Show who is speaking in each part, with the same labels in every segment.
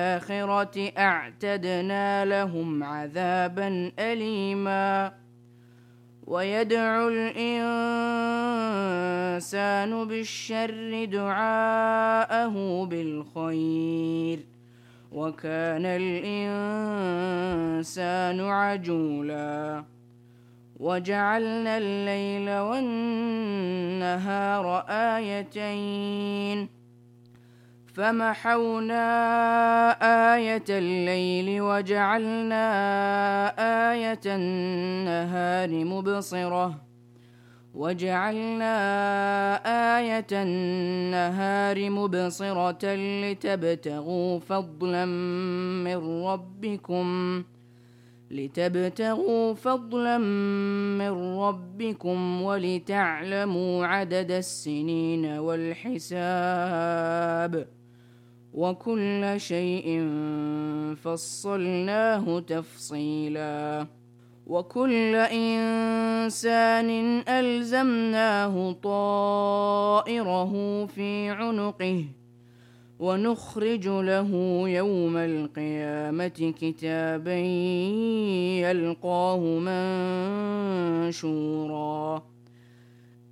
Speaker 1: الآخرة أعتدنا لهم عذابا أليما ويدعو الإنسان بالشر دعاءه بالخير وكان الإنسان عجولا وجعلنا الليل والنهار آيتين فمحونا آية الليل وجعلنا آية النهار مبصرة لتبتغوا فضلا من ربكم ولتعلموا عدد السنين والحساب وكل شيء فصلناه تفصيلا وكل إنسان ألزمناه طائره في عنقه ونخرج له يوم القيامة كتابا يلقاه منشورا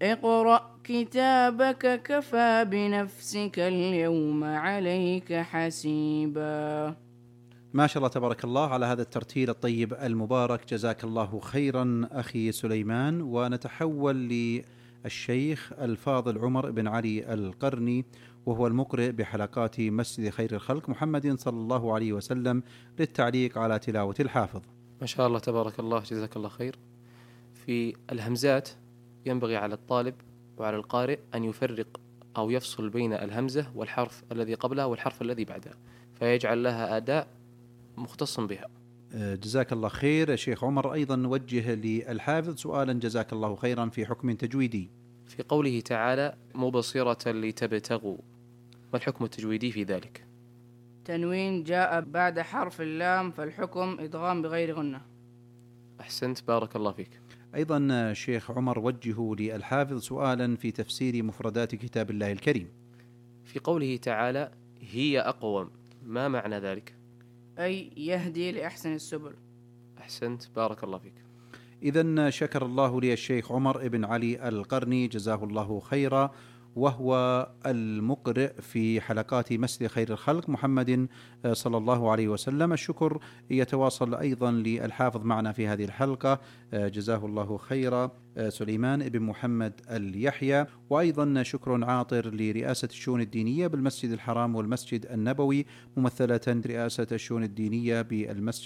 Speaker 1: اقرأ كتابك كفى بنفسك اليوم عليك حسيبا.
Speaker 2: ما شاء الله تبارك الله على هذا الترتيل الطيب المبارك، جزاك الله خيرا أخي سليمان. ونتحول للشيخ الفاضل عمر بن علي القرني، وهو المقرئ بحلقات مسجد خير الخلق محمد صلى الله عليه وسلم، للتعليق على تلاوة الحافظ.
Speaker 3: ما شاء الله تبارك الله، جزاك الله خير. في الهمزات ينبغي على الطالب وعلى القارئ أن يفرق أو يفصل بين الهمزة والحرف الذي قبلها والحرف الذي بعدها، فيجعل لها أداء مختص بها.
Speaker 2: جزاك الله خير. شيخ عمر أيضا نوجه للحافظ سؤالا جزاك الله خيرا في حكم تجويدي.
Speaker 3: في قوله تعالى مبصرة لتبتغوا، ما الحكم التجويدي في ذلك؟
Speaker 1: تنوين جاء بعد حرف اللام فالحكم إدغام بغير غنة.
Speaker 3: أحسنت، بارك الله فيك.
Speaker 2: أيضا شيخ عمر وجهوا للحافظ سؤالا في تفسير مفردات كتاب الله الكريم.
Speaker 3: في قوله تعالى هي أقوم، ما معنى ذلك؟
Speaker 1: أي يهدي لأحسن السبل.
Speaker 3: أحسنت، بارك الله فيك.
Speaker 2: إذن شكر الله لي الشيخ عمر بن علي القرني جزاه الله خيرا، وهو المقرئ في حلقات مسجد خير الخلق محمد صلى الله عليه وسلم. الشكر يتواصل أيضا للحافظ معنا في هذه الحلقة جزاه الله خيرا سليمان بن محمد اليحيى. وأيضا شكر عاطر لرئاسة الشؤون الدينية بالمسجد الحرام والمسجد النبوي، ممثلة رئاسة الشؤون الدينية بالمسجد